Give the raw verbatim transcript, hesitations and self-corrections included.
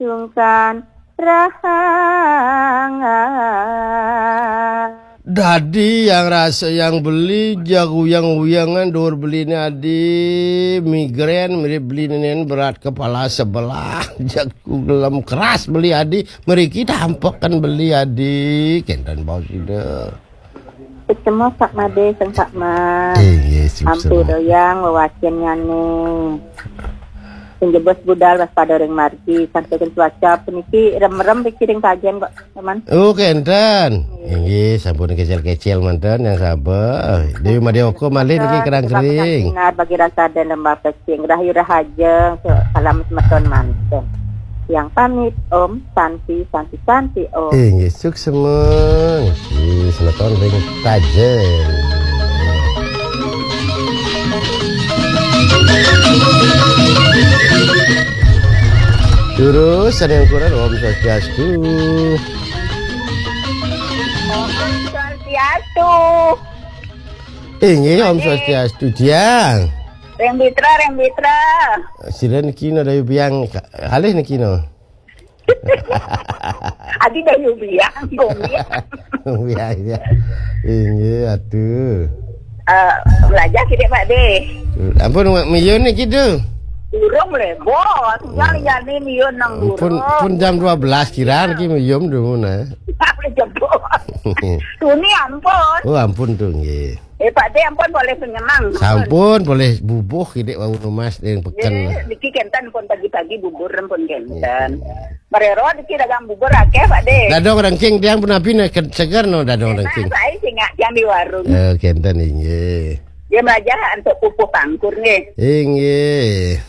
Sungkan rahang. Dadi yang rasa yang beli, jak uyang-uyangan dur beline adi, migrain mirip beli nenen berat kepala sebelah, jaku gelem keras beli adi, meriki tampekan beli adi, kenten bau sida. Kecemos Pak Made, sengkak mas. Eh, yes, Ampu doyang wewacen nyane. Sing jebos budal waspada ring margi, sampai cuaca puniki rem-rem riki ring tajen kok, teman. Oh, kenten. Inggih, sampun kecil-kecil manten yang sabar. Dewi Madioko malih niki kerang kering. Sinar bagi rasa dan lembah pesing, rahayu rahajeng, salam semeton manten. Yang pamit, Om Santi, Santi, Santi, Om. Inggih, suksema. Inggih, semeton ring tajen. Terus ada yang kurang, Om Swastiastu. Om Swastiastu. Inggih, Om Swastiastu, Jang. Reng Bitra, Reng Bitra. Sira niki no dayu biang, alih niki no. Adi dayu biang, gong ya. Biang, ya. Inggih, aduh. Eh, belajar kita Pak De. Ampun, Mak Miyun niki tu. Burung lebo, tinggal jani Miyun nang Pun, burung. Pun jam dua belas kira niki Miyun dulu nah. Boleh jebos. Tuni ampun. Oh, ampun tu nggih. Eh, Pak De ampun boleh penyemang. Sampun boleh bubuh kidik wau numas ring peken. Eh, niki kenten pun pagi-pagi bubur pun kenten. Marero niki dagang bubur akeh Pak De. Dadong rengking tiang punapi ne ke-, seger no dadong rengking. Saya singak tiang di warung. Eh, kenten inggih. Dia belajar untuk pupuh pangkur nggih. Inggih.